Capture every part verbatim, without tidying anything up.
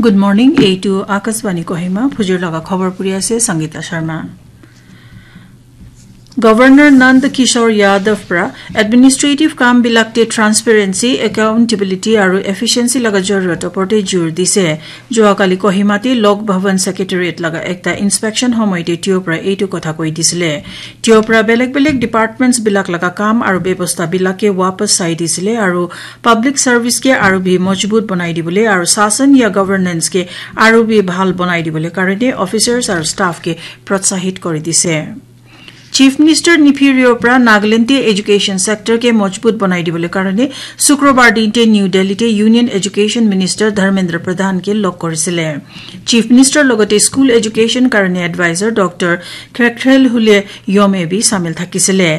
Good morning, এইটো আকাশবাণী কহিমা, ভুজুৰ লগা খবৰ পৰি আছে সংগীতা শৰ্মা। Governor Nand Kishore Yadav pra administrative কাম বিলাকতে transparency, accountability আৰু efficiency লগা জৰুৰত ওপৰতে জোৰ দিছে। যোৱাকালি কহিমাতে লোক ভৱন secretariat লগা একটা inspection সময়তে তেওঁ পৰা এইটো কথা কৈ দিছিলে। তেওঁ পৰা বেলেগ বেলেগ departments বিলাক লগা কাম আৰু ব্যৱস্থা বিলাকে ৱাপছ চাই দিছিলে আৰু public service কে আৰু ভি মজবুত বনাই দিবলৈ আৰু শাসন ইয়া governance কে আৰু ভি ভাল বনাই দিবলৈ কাৰণে officers আৰু staff কে প্ৰোৎসাহিত কৰি দিছে। Chief Minister নিফিউৰিঅ'ৰ পৰা নাগালেণ্ডে education sector কে মজবুত বনাই দিবলৈ কাৰণে শুক্ৰবাৰ দিনতে নিউ দিল্লীতে Union Education Minister ধৰ্মেন্দ্ৰ প্ৰধানকে লগ কৰিছিলে। Chief Minister লগতে school education কাৰণে advisor ডক্টৰ খেখেলহুলে য়মে বি চামিল থাকিছিলে।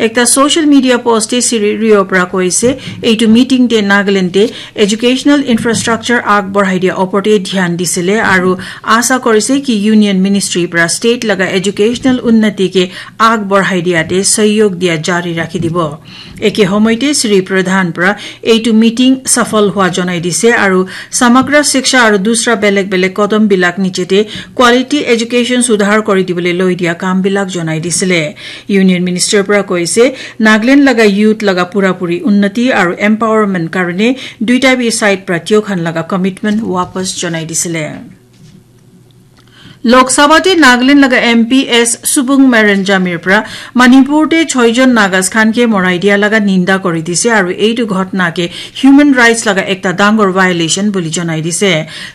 একটা social media postএ শ্ৰী ৰিঅ'ৰ পৰা কৈছে, এইটো মিটিংতে নাগালেণ্ডে educational infrastructure আগবঢ়াই দিয়া ওপৰতে ধ্যান দিছিলে আৰু আশা কৰিছে কি Union Ministry পৰা state লগা educational উন্নতিকে আগবঢ়াই দিয়াতে সহযোগ দিয়া জাৰি ৰাখি দিব। একে সময়তে শ্ৰী প্ৰধান পৰা এইটো মিটিং সফল হোৱা জনাই দিছে আৰু সমগ্ৰ শিক্ষা আৰু দুসৰা বেলেগ বেলেগ কদম বিলাক নিজেতে quality education সুধাৰ কৰি দিবলৈ লৈ দিয়া কাম বিলাক জনাই দিছিলে। Union Minister পৰা কৈছে, নাগালেণ্ড লগা youth লগা পুৰাপুৰি উন্নতি আৰু empowerment কাৰণে দুইটা বি side পৰা তিয়োখান লগা commitment ৱাপছ জনাই দিছিলে। লোকসভাতে নাগালেণ্ড লগা এম পি এছ সুবুং মেৰেন জামিৰ পৰা মণিপুৰতে ছয়জন নাগাজ খানকে মৰাই দিয়া লগা নিন্দা কৰি দিছে আৰু এইটো ঘটনাকে human rights লগা একটা ডাঙৰ violation বুলি জনাই দিছে।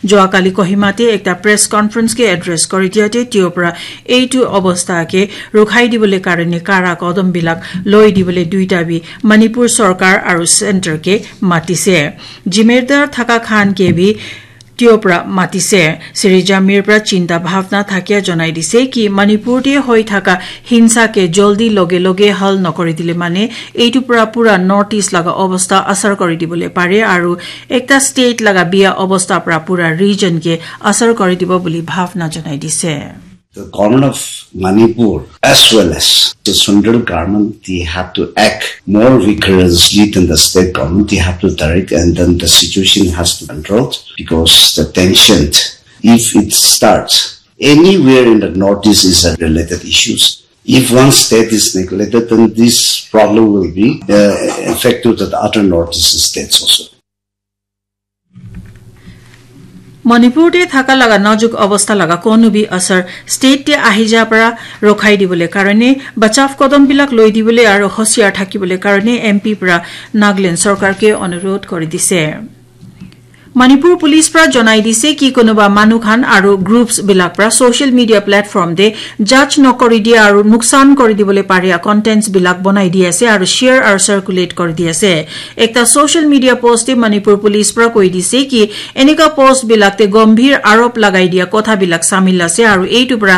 যোৱাকালি কহিমাতে একটা press conference কে address কৰি দিয়াতে তেওঁৰ পৰা এইটো অৱস্থাকে ৰখাই দিবলৈ কাৰণে কাৰা কদমবিলাক লৈ দিবলৈ দুইটা বি মণিপুৰ চৰকাৰ আৰু চেণ্টাৰকে মাতিছে। জিম্মেদাৰ থকা খানকে বি তেওঁৰ পৰা মাতিছে। শ্ৰী জামিৰ পৰা চিন্তা ভাৱনা থাকিয়া জনাই দিছে কি মণিপুৰতে হৈ থকা হিংসাকে জলদি লগে লগে হল নকৰি দিলে মানে এইটো পৰা পুৰা নৰ্থ ইষ্ট লগা অৱস্থা আচৰ কৰি দিবলৈ পাৰে আৰু একটা ষ্টেট লগা বিয়া অৱস্থা পৰা পুৰা ৰিজনকে আচৰ কৰি দিব বুলি ভাৱনা জনাই দিছে। The government of Manipur as well as the central government, they have to act more vigorously than the state government. They have to direct and then the situation has to be controlled because the tension, if it starts anywhere in the northeast, is a related issues. If one state is neglected, then this problem will be uh, effective to the other northeast states also. মণিপুৰতে থকা লগা নাজুক অৱস্থা লগা কোনো বি আচৰ ষ্টেটে আহি যা পৰা ৰখাই দিবলৈ কাৰণে বচাৱ কদমবিলাক লৈ দিবলৈ আৰু হুঁচিয়াৰ থাকিবলৈ কাৰণে এম পি পৰা নাগালেণ্ড চৰকাৰকে অনুৰোধ কৰি দিছে। মণিপুৰ পুলিচ পৰা জনাই দিছে কি কোনোবা মানুহ খান আৰু গ্ৰুপছ বিলাক পৰা ছ'চিয়েল মিডিয়া প্লেটফৰ্ম দে জাজ নকৰি দিয়া আৰু লোকচান কৰি দিবলৈ পাৰা কণ্টেণ্টছ বিলাক বনাই দি আছে আৰু শ্বেয়াৰ আৰু চাৰ্কুলেট কৰি দি আছে। একটা ছ'চিয়েল মিডিয়া পোষ্টে মণিপুৰ পুলিচ পৰা কৈ দিছে কি এনেকুৱা পোষ্ট বিলাকতে গম্ভীৰ আৰোপ লগাই দিয়া কথাবিলাক চামিল আছে আৰু এইটো পৰা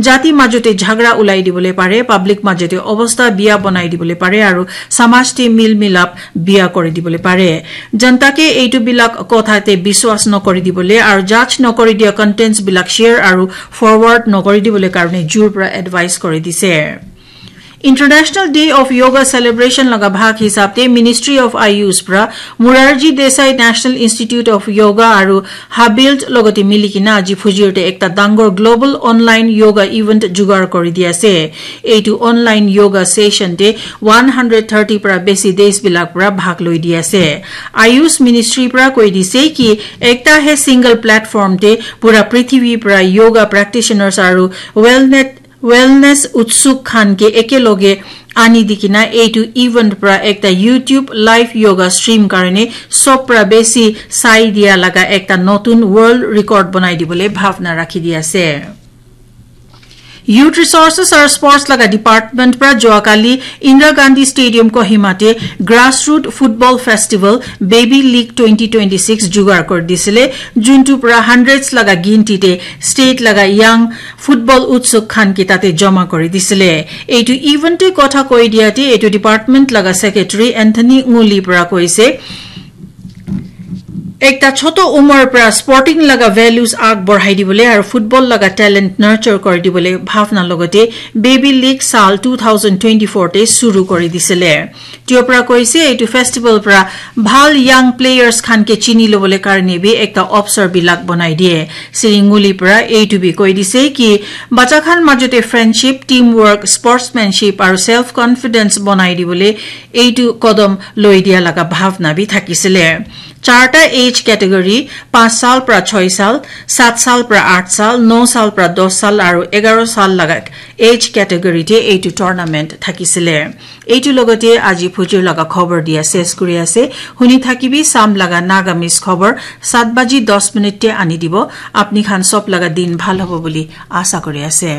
জাতি মাজতে ঝগৰা ওলাই দিবলৈ পাৰে, পাব্লিক মাজতে অৱস্থা বিয়া বনাই দিবলৈ পাৰে আৰু সমাজতে মিল মিলাপ বিয়া কৰি দিবলৈ পাৰে। জনতাকে এইটো বিলাক কথাতে বিশ্বাস নকৰি দিবলৈ আৰু জাজ নকৰি দিয়া কণ্টেণ্টছ বিলাক শ্বেয়াৰ আৰু ফৰৱাৰ্ড নকৰি দিবলৈ কাৰণে জোৰ পৰা এডভাইচ কৰি দিছে। International Day of Yoga celebration লগা ভাগ হিচাপতে Ministry of Ayush পৰা Morarji Desai National Institute of Yoga আৰু হাবিল্ট লগতে মিলি কিনা আজি ফুজিৰতে একটা ডাঙৰ গ্ল'বেল অনলাইন য়োগা ইভেণ্ট যোগাৰ কৰি দি আছে। এইটো অনলাইন য়োগা ছেছনতে ওৱান হাণ্ড্ৰেড থাৰ্টি পৰা বেছি দেশবিলাক পৰা ভাগ লৈ দি আছে। আয়ুষ মিনিষ্ট্ৰীৰ পৰা কৈ দিছে কি একটাহে ছিংগল প্লেটফৰ্মতে পুৰা পৃথিৱীৰ পৰা য়োগা প্ৰেক্টিচনাৰ্ছ আৰু ৱেলনেছ ৱেলনেছ উৎসুক খানকে একেলগে আনি দি কিনা এইটো ইভেণ্ট পৰা একটা YouTube লাইভ য়োগা ষ্ট্ৰীম কাৰণে চব পৰা বেছি চাই দিয়া লগা একটা নতুন ৱৰ্ল্ড ৰেকৰ্ড বনাই দিবলৈ ভাৱনা ৰাখি দি আছে। ইউথ ৰিচৰ্চেছ আৰু স্পৰ্টছ লগা ডিপাৰ্টমেণ্ট পৰা যোৱাকালি ইন্দিৰা গান্ধী ষ্টেডিয়াম কহিমাতে গ্ৰাছৰুট ফুটবল ফেষ্টিভেল বেবী লিগ টুৱেণ্টি টুৱেণ্টি ছিক্স যোগাৰ কৰি দিছিলে, যোনটো পৰা হাণ্ড্ৰেডছ লগা গিনতিতে ষ্টেট লগা য়াং ফুটবল উৎসুক খানকে তাতে জমা কৰি দিছিলে। এইটো ইভেণ্টে কথা কৈ দিয়াতে এইটো ডিপাৰ্টমেণ্ট লগা ছেক্ৰেটাৰী এন্থনী ঙুলিৰ পৰা কৈছে, Ekta choto umar pra sporting laga values ag borhai dibole aru football laga talent nurture kori dibole bhavna logote Baby League sal two thousand twenty-four te suru kori disile. Tio pra koise eitu festival pra bhal young players khan ke chini lobole karne bi ekta opsor bilak bonai diye. Sri Nguli pra eitu bi koi dise ki bacha khan majote friendship, teamwork, sportsmanship aru self confidence bonai dibole eitu kodom loi dia laga bhavna bi thakisile. Charta age category, panch sal pra choi sal, sat sal pra aat sal, no sal pra dos sal aru egaro sal laga age category te eitu tournament thakisile. Eitu logote aji phujur laga khobor dia ses kuri ase. Huni thakibi sam laga Nagamese khobor sat baji dos minute te ani dibo. Apni khan sob laga din bhal hobo buli asa kuri ase.